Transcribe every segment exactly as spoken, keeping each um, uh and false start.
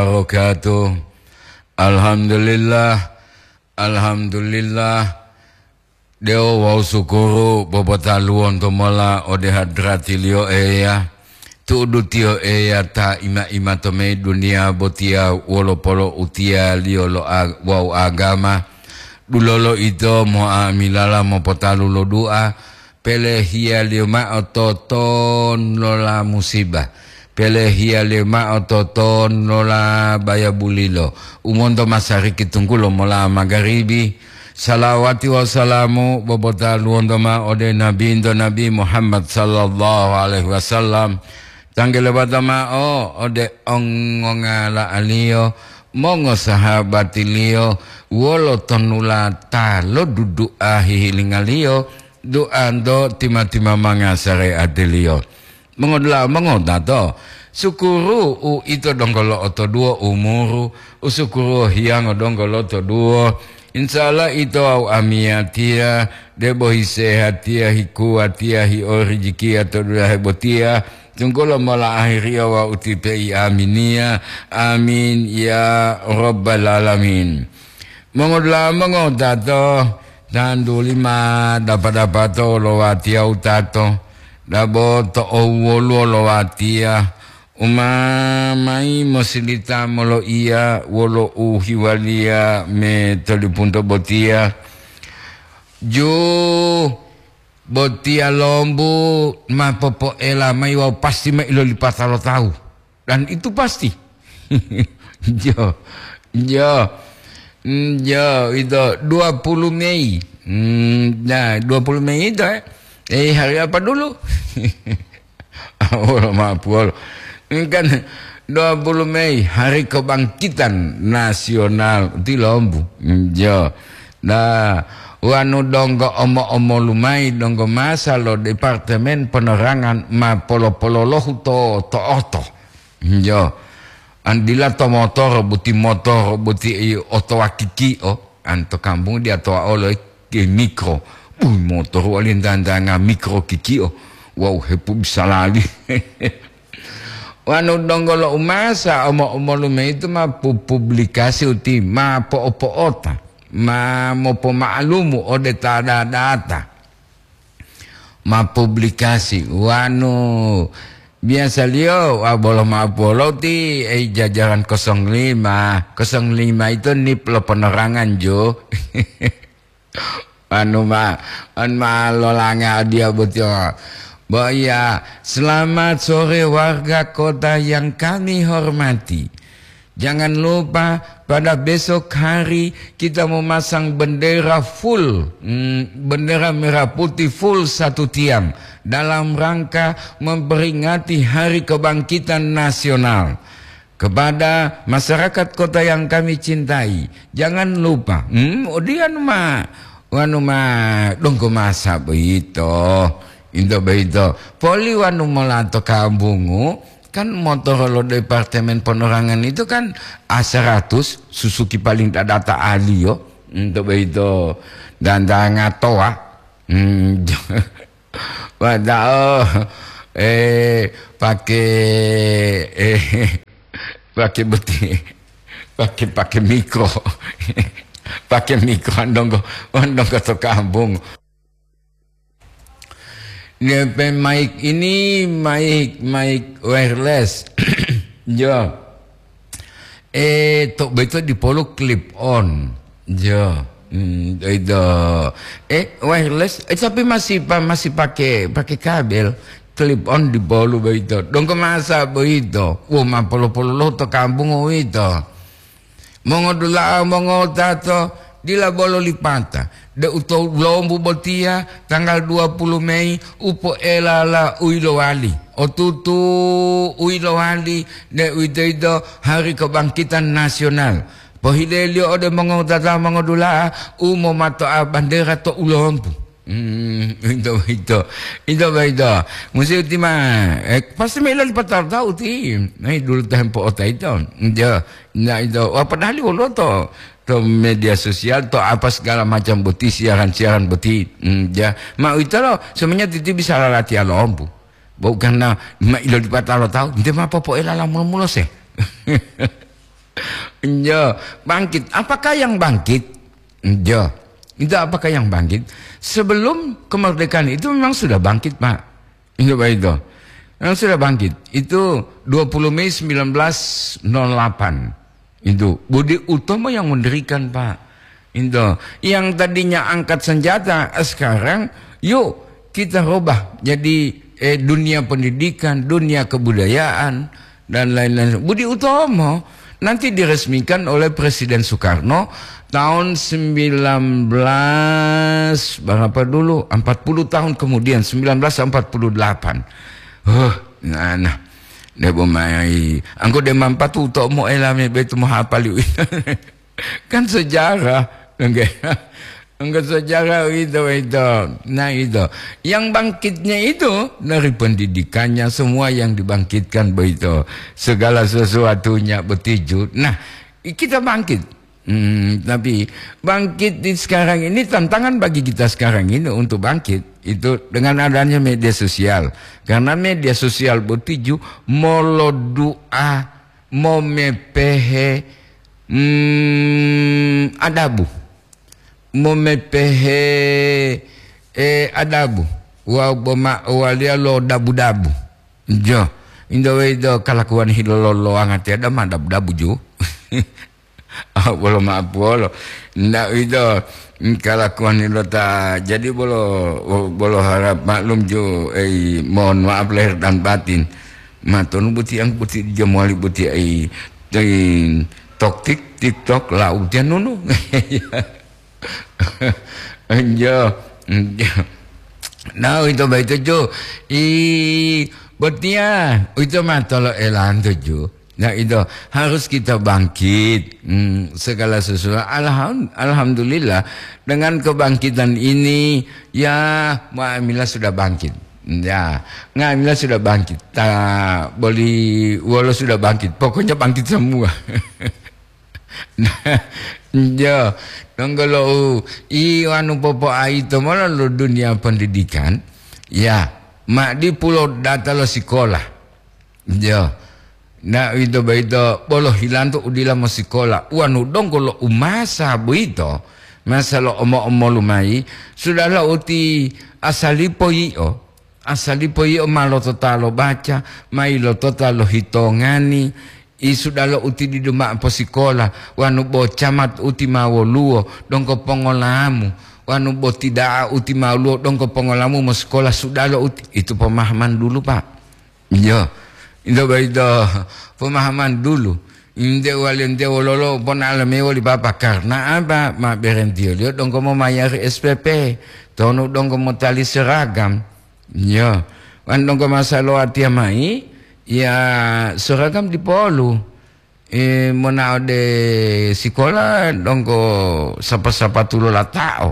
Wabarakatuh. Alhamdulillah, alhamdulillah. Dewo wawu sukuru popotaluwonto mola ode hadratiliyo Eya, tu'udu tiyo Eya ta ima-ima to meyi duniya botiya wolo polo'utiyaliyo lo a-, wawu agama. Dulolo ito mo'amilala mopotalu lo du'a, pelehiyaliyo ma'o toton lola musiba, pelehiyaliyo ma'o toton lola bayabulilo, u monto masariki tunggulo mola magaribi. Salawati wawu salamu bobotaluwonto ma'o ode Nabinto Nabi Muhammad sallallahu alaihi wasallam, tanggelebata ma'o ode ongongala'aliyo, mongosahabatiliyo, wolo tonula ta lodudu'a hihilingaliyo, duanto tima-timamanga sareatiliyo. Mongodula'a mongotato, sukuru uito donggo lo'otoduwo umuru, usukuruwo hiyango donggo lotoduwo. Insya Allah ito wawu amiyatiya, debo hisehatiya, hikuwatiya, hiorijikiya to dulahe botiya, tunggulo mola ahiriya wawu utipe'i aminiya. Amin, ya Rabbal Alamin. Mongodula'a mongotato, tantuli ma dapa-dapato lo watiya wutato, dabo to owwoluwo lo watiya, u ma mayi mosilita moloiya wolo uhiwaliya me tolipunto botiya. Ju botiya lombu ma popoela mayi wawu pasti ma ilolipata lo tawu. Dan itu pasti. Jo, jo, mm, jo, itu dua puluh Mei. Hmm, nah, dua puluh Mei itu, eh. Eh, hari apa dulu? Wolo mapuwolo. Ini kan dua puluh Mei, Hari Kebangkitan Nasional. Itu lombu. Hmm, jo. Nah, wanu donggo omo-omolu mayi donggo masa lo Departemen Penerangan ma polo-pololohu to, to oto. Njo, an dila to motoro boti, motoro boti, i, oto wakiki'o, an to kampung dia toa olo ke mikro. Bui, motoro wali ntantanga mikro kiki'o. Wau hepu bisa lali. Wanu donggo lo umasa omo-omolume itu ma pu-, publikasi uti ma po'o-po'ota, ma mopoma'alumu ode ta da-, data. Ma publikasi wanu biasaliyo wa bolo ma'o poloti, ei, jajaran kosong lima. Kosong lima itu nip lo penerangan, jo. Anu ma, an ma lolanga dia botio. Bo iya, selamat sore warga kota yang kami hormati. Jangan lupa pada besok hari kita memasang bendera full, mm, bendera merah putih full satu tiang dalam rangka memperingati Hari Kebangkitan Nasional. Kepada masyarakat kota yang kami cintai, jangan lupa, hmm, odiyan ma, wanu ma donggo masa boyito, into boyito. Poli wanu mola to kambungu, kan motoro lo Departemen Penerangan itu kan A seratus, Suzuki paling dadata aliyo, into boyito, dan dangatoa. Hmm, Wadao, eh, pake, eh, pake boti, pake, pake mikro, pake mikro, andonggo, andonggo to kampung. Depe mic ini, mic, mic wireless. Jo. Eh, to beto dipolu clip on. Jo. Hmm, itu. Eh, wireless, eh, tapi masih pa-, masih pakai, pakai kabel clip on dipolu beito. Dongko masa beito. Wo, ma polo-polo lo to kampung uwito. Mongodula'a, mongotato, dila bolo lipata. De uto lombu botiya, tanggal dua puluh Mei, upoelala uilowali. Otutu uilowali, de uwitoyito Hari Kebangkitan Nasional. Pohileliyo ode mongowutata mongodula'a u momatoa bandera to ulompu. Hmm, ito, ito, ito, ito. Musi uti ma, eh, pasti melo lipatalo tahu ti. Nah, dulu tempo ota ito. Ito, nah, ito. Wah, padahal wolo to, to media sosial, to apa segala macam boti, siaran-siaran boti. Hmm, ya. Ma uwito lo, semuanya titi bisa lalati alompu. Bukan na, ma ilo lipatalo tahu, nte ma popoela la mulo-mulo se. Enjo, bangkit. Apakah yang bangkit? Enjo. Itu apakah yang bangkit? Sebelum kemerdekaan itu memang sudah bangkit, Pak. Itu, Pak, itu. Memang sudah bangkit. Itu dua puluh Mei sembilan belas nol delapan. Itu Budi Utomo yang mendirikan, Pak. Itu. Yang tadinya angkat senjata, eh, sekarang yuk kita rubah jadi, eh, dunia pendidikan, dunia kebudayaan, dan lain-lain. Budi Utomo nanti diresmikan oleh Presiden Soekarno tahun sembilan belas berapa dulu? Empat puluh tahun kemudian, sembilan belas empat puluh delapan. Huh, nah, nah. Debo mai, angko de mampatu Utomo elame betu mohapali. Kan sejarah, nggih. Enggak sejarah itu, itu. Nah, itu. Yang bangkitnya itu dari pendidikannya, semua yang dibangkitkan begitu. Segala sesuatunya betuju. Nah, kita bangkit. Hmm, tapi bangkit di sekarang ini, tantangan bagi kita sekarang ini untuk bangkit itu dengan adanya media sosial. Karena media sosial betuju molodu'a, momepehe, hmm, adabu. Momepehe, eh, adabu. Wa boma waliya lo dabu-dabu. Jo. Indo wedo kalakuan hilololoanga tiada ma dabu-dabu ju. Ah, bolo maaf bolo. Ndak itu, mm, kalakuan hilo ta. Jadi bolo, bolo harap maklum ju, eh, mohon maaf lahir dan batin. Matonu buti ang buti jamuali buti ai, ai toktik TikTok la utian nunu. Enjo, enjo. Nah, itu baik itu ju. I botia, itu matolo elanto ju. Nah, itu harus kita bangkit. Hmm, segala sesuatu. Alham-, alhamdulillah, dengan kebangkitan ini, ya, Mbak Amila sudah bangkit. Ya, Mbak Amila sudah bangkit. Ta, Boli Wolo sudah bangkit. Pokoknya bangkit semua. Nah, jo, donggo lo u, i anu popoaito mola lo dunia pendidikan. Ya, ma di pulo data lo sikola. Jo. Na uwito boyito bolo hilanto u dila mosikola. Wanu donggo lo umasa boyito, masa lo omo-omolu mayi, sudahla uti asalipo yi'o, asalipo yi'o ma lotota lo baca, ma ilotota lo hitongani, i sudalo uti didu ma'o posikola, wanu bo camat uti ma woluwo, donggo pongolamu, wanu bo tida'a uti ma woluwo, donggo pongolamu mosikola sudalo uti. Itu pemahaman dulu, Pak. Iyo, ito boyito pemahaman dulu. Inte wali ente wololo pona'alo mayi woli papa, karna apa? Ma berentiyoliyo donggo momayari S P P, tonu donggo motali seragam. Iyo, wan donggo masa lo watiya mayi, ya seragam dipolu. Eh, mona ode sikola donggo sapa-sapatu lo lata'o.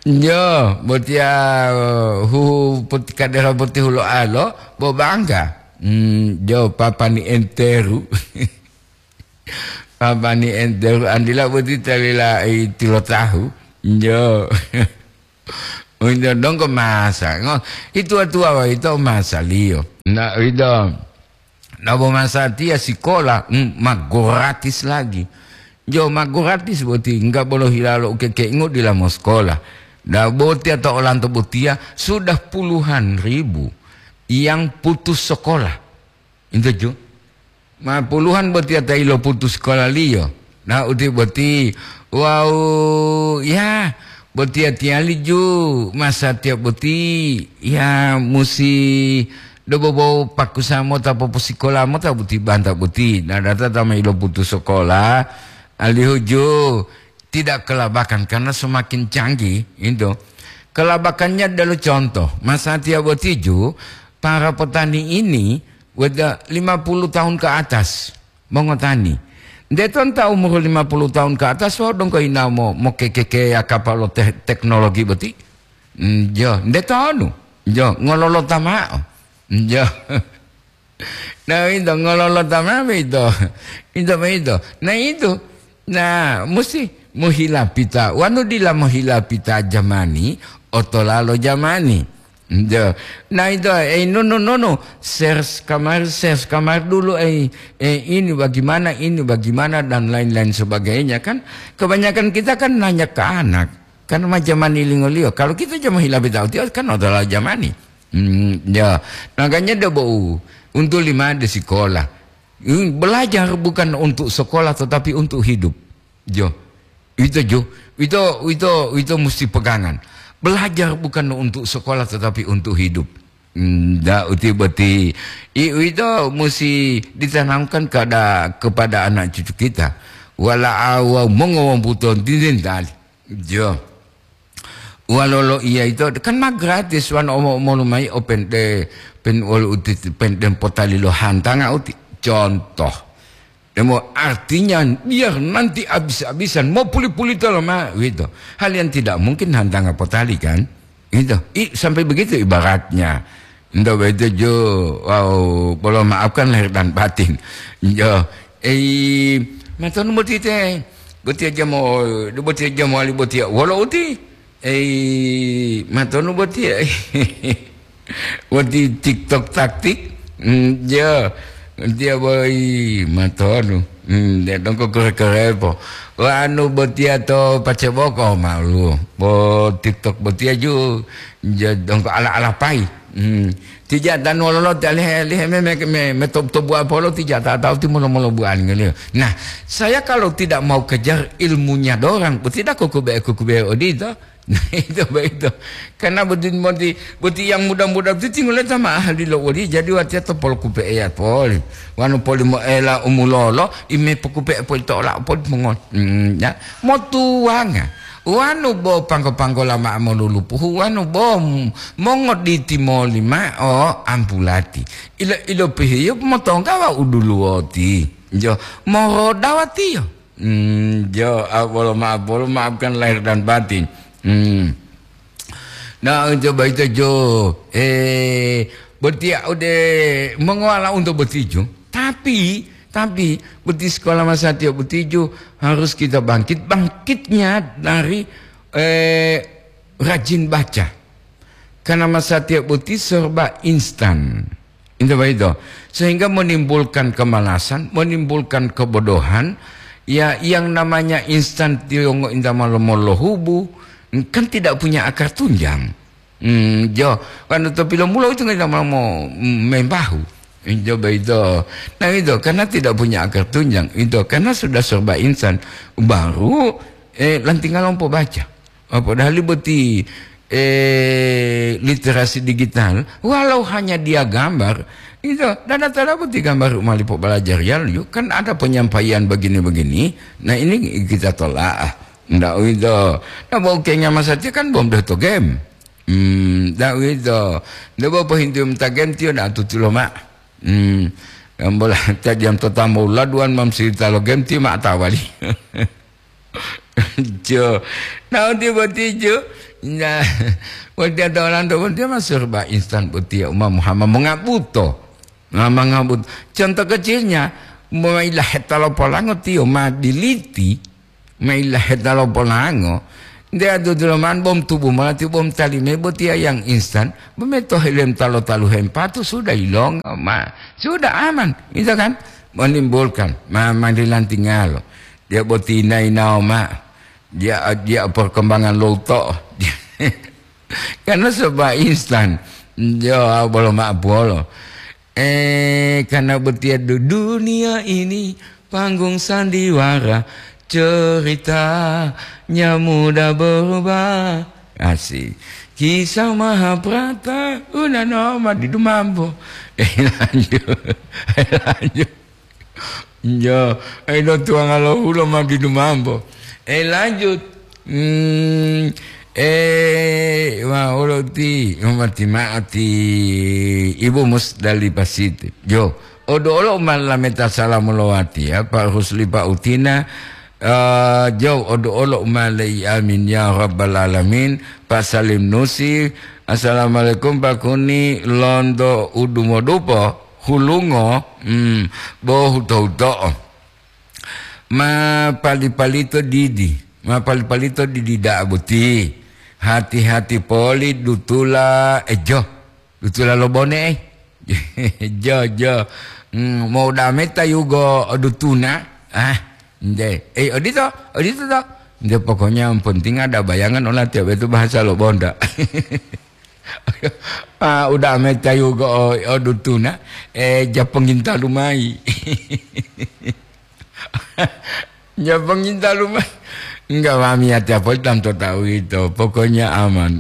Jo, botiya, eh, huhu poti-, kadera boti hulo'alo, bo bangga. Hmm, jo, papani enteru. Papani enteru, andila boti talila i tilotahu. Jo. Uwito donggo masa. Ngo, ituwa-tuwa boyito masaliyo. Na, uwito. Dabo masatiya sikola, mm, ma gratis lagi. Jo ma gratis boti, enggak bolo hilalo ukekeingo dila mosikola. Dabo tiya to olanto botiya sudah puluhan ribu yang putus sekolah. Intu ju. Ma puluhan botiya ta iloputus sikolaliyo. Na uti boti, wawu, ya, botiya tiyali ju, masatiya boti, ya, musi dobobo pakusa mota poposikola mota boti banta boti. Na data ta ma iloputus sekolah, alihu ju tidak kelabakan karena semakin canggih itu. Kelabakannya adalah contoh, masatiya boti ju, para petani ini weda lima puluh tahun ke atas. Mongotani. Nde tonta umur lima puluh tahun ke atas, wau donggo ina mo, mo keke-, keya kapalo te-, teknologi boti? Njo, nde tonu. Njo, ngololota ma'o. Njo. Nah, itu ngololota ma'o itu. Itu, itu. Nah, itu. Nah, musti mohilapita. Wanu dila mohilapita jamani, otolalo jamani. Iya. Nah, itu, eh, no, no, no, no. Search kamar, search kamar dulu, eh, eh, ini bagaimana, ini bagaimana, dan lain-lain sebagainya, kan. Kebanyakan kita kan nanya ke anak. Kan macam mani lingoliyo. Kalau kita cuma hilapi tahu tiyo, kan adalah jamani. Hmm, ya. Makanya dia bau untuk lima di sekolah. Hmm, belajar bukan untuk sekolah, tetapi untuk hidup. Jo. Itu jo. Itu, itu, itu mesti pegangan. Belajar bukan untuk sekolah, tetapi untuk hidup. Hmm, da uti boti. I, itu mesti ditanamkan kepada, kepada anak cucu kita. Wala awa mongowamputon tintin tali. Jo. Walolo iya itu kan ma gratis wan omo-omolu mai open de pen wolu uti pen den potali lo hantanga uti. Contoh. Demo artinya biar nanti habis-habisan mau puli-puli tolo ma gitu. Hal yang tidak mungkin hantanga potali kan? Gitu. I, sampai begitu ibaratnya. Nda begitu jo, wow, bolo maafkan lahir dan batin. Jo, eh, matonu boti te, boti aja mau, boti aja mau ali boti wolo uti. Eh, matonu boti ya. Wati TikTok taktik. Hmm, ya. Dia boy matonu. Hmm, dia dongko kere-kere po. Wanu botia to paceboko malu. Bo TikTok botia ju. Ja dongko ala-ala pai. Hmm. Tija dan wololo talihe lihe me me me, me top top buah polo tija tak tahu timolo molo buah ngeliyo. Nah, saya kalau tidak mau kejar ilmunya dorang, tidak kuku be kuku be odito. Nah, itu begitu. Karena boti, boti, boti yang muda-muda itu tinggal sama ahli lo wali, jadi watiya to pol kupe eya poli. Wanu poli mo ela umulolo, ime pokupe poli to ola poli mongot. Hmm, ya. Motuwanga. Wanu bo pangko-pangko lama molulupuhu, wanu bo m-, mongoditi molima o ampulati. Ilo, ilo pihiyo motonggawa uduluwoti. Jo, morodawatiyo. Hmm, jo, ah, bolo maaf, bolo maafkan lahir dan batin. Hmm. Nah, coba itu jo, eh, botia ode mengawala untuk botijo. Tapi, tapi boti sekolah masa tiap botijo harus kita bangkit, bangkitnya dari, eh, rajin baca. Karena masa tiap boti serba instan. Itu begitu. Sehingga menimbulkan kemalasan, menimbulkan kebodohan. Ya, yang namanya instan tiongo inta malomo lohubu, kan tidak punya akar tunjang. Hmm, jo, kan to pilomulo itu nggak mau membahu. Jo begitu. Nah, itu karena tidak punya akar tunjang. Itu karena sudah serba instan. Baru, eh, lantinga lompo baca. Oh, padahal boti, eh, literasi digital, walau hanya dia gambar, itu dana tada boti gambar malipo belajar ya, yuk, kan ada penyampaian begini-begini. Nah, ini kita tolak. Ah. Ndak itu. Nah, bau kenya masa dia kan bom doh to game. Hmm, ndak itu. Ndak bau pohintu mata game tio ndak tutulo mak. Hmm, yang bola tadi yang tetamo laduan mam cerita lo game tio mak tawali. Jo. Nah, uti boti jo. Nah, wati ada orang tu dia masuk ba instan boti ya Umar Muhammad mengabuto. Nah, mengabuto. Contoh kecilnya, mailah hetalo polango tio ma diliti, mailah hetalo polango. Dia tu dulaman bom tubuh malah tio bom talime boti ya yang instan. Bemeto helem talo talu hempatu sudah ilong ma. Sudah aman, gitu kan? Menimbulkan ma madilan tinggal. Dia boti nai naoma. Dia, dia perkembangan loto. Karena serba instan. Yo, bolo ma bolo. Eh, karena betia du-, dunia ini panggung sandiwara, ceritanya mudah berubah. Asik. Kisah Mahabharata, udah no, mati dumambo. Eh, lanjut. Lanjut. Yo, eh, do tuanga lo hulo ma didu mambo. Eh, lanjut. Hmm, eh, wa olo ti, umati ma'ati Ibu Musdalifah Siti. Yo, odo olo ma lameta salamu lowati ya, Pak Rusli, Pak Utina. Eh, jo, odo olo ma lei amin ya rabbal alamin. Pak Salim Nusi, assalamualaikum Pak Kuni, londo udumodupo. Hulungo, hmm, bo huto-huto'o. Ma pali-palito didi, ma pali-palito didi da'a boti. Hati-hati poli dutula, eh, jo. Dutula lo bone, eh. Jo, jo. Hmm, mau dame tayugo dutuna. Ah, nde. Eh, odito, odito to. Nde, pokoknya yang penting ada bayangan ola tiap itu bahasa lo bonda. Ah, udah ame tayugo o, o dutuna. Eh, ja pengintalu mai. Ja pengintalu mai. Enggak, mami, hati apa tanto tahu itu. Pokoknya aman.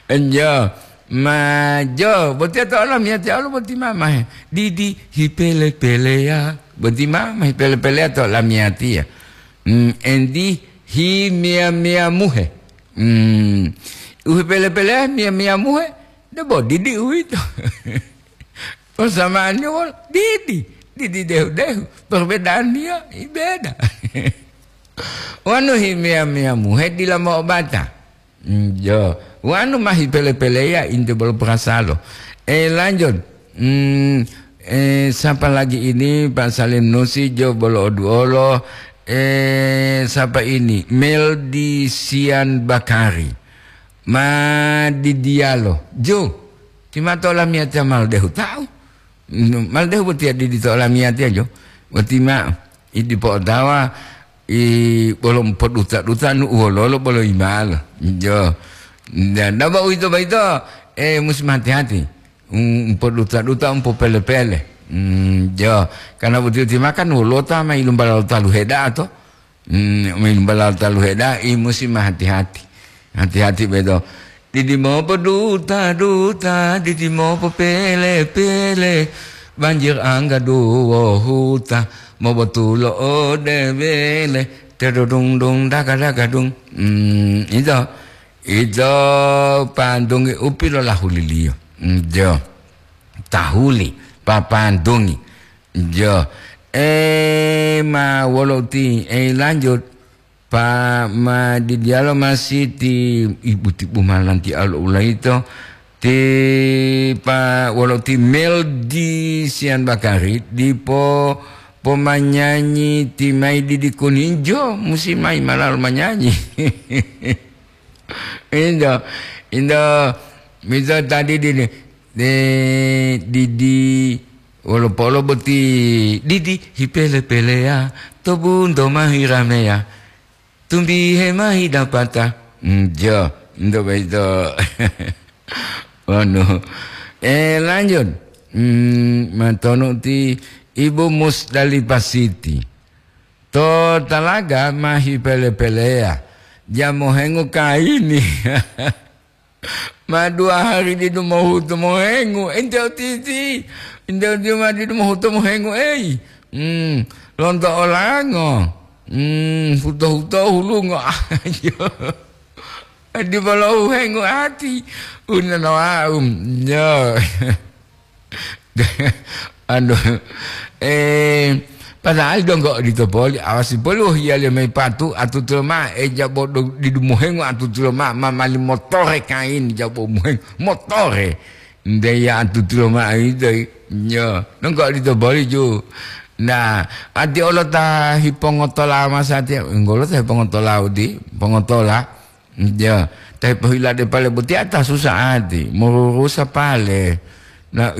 Enjo, ma jo, boti to olamiyatiya olo boti mamahe. Didi hipele-peleya, boti mamahe pele-peleya to olamiyatiya. Hmm, endi himiya-miyamuhe. Hmm, uhipele-peleya miya-miyamuhe, debo didi uwito. Persamaannya wol, didi, didi dehu-dehu. Perbedaannya, i beda. Wanu himiya-miyamuhe dila mo'obata. Mm, jo. Wanu mahi pele-peleya inte bolo perasalo. Eh, lanjut. Hmm, eh, siapa lagi ini? Pak Salim Nusi, jo bolo oduolo. Eh, siapa ini? Meldi Sian Bakari. Ma di dialo. Jo. Timato lamiyatiya mal dehu tahu. Maldehu botiya didi to olamiyatiya jo. Boti ma'o, i dipo otawa, i bolo poduta-duta nu uwololo bolo imalo. Jo. Dan daba uwito boyito, eh, musi hati-hati. Um, poduta-duta, um, popele-pele. Hmm, jo. Karena boti-boti makan wolota ma ilumbala talu heda to. Hmm, min balal talu heda'i musi ma hati-hati. Hati-hati beto. Didi mopo duta-duta, didi mopo pele-pele. Banjir angga duwo huta, mobotulo ode bele. Tedodung-dung daga-daga dung. Hmm, ito. Ito pandungi upi lo lahuliliyo. Hmm, jo. Tahuli, papandungi. Jo. Eh, ma wolo uti, eh, lanjut. Pa ma di dialo masih ti ibu-tibu malanti alo ulaito. Ti pa wolo ti Meldi Sian Bakari, dipo pomanyanyi ti mai didi kuninjo, musi mai malalo manyanyi. Indo, indo, miso tadi didi, eh, didi, wolo polo boti, didi, hipele-peleya, to bunto mahi rameya, tumbihe mahi dapata. Hmm, jo, indo boyito. Wanu. Eh, lanjut. Hmm, matonu ti Ibu Musdalifah Siti. To talaga mahi pele-peleya, ja mohengu kayini. Ma dua hari didu mohutu mohengu, ente otiti, ente otiti ma didu mohutu mohengu, ei. Hmm, lonto olango. Hmm, huto-huto hulungo. Ayo. Di bolo uhengu ati, unana wau. Yo. Anu, eh, padahal donggo odito poli, awasi poli wohiyaliyo mayi patu, atutulo mao, eh, jabo do-, didu mohengu atutulo mao, ma mali motore kain, jabo mohengu, motore. Ndeya atutulo mao ito, yo, donggo odito poli ju. Nah, ati olo ta hipongotola masatiya, enggolo ta hipongotola udi, pongotola. Ya, tapi pohilade pale boti ata susah ati, mururusa pale. Na,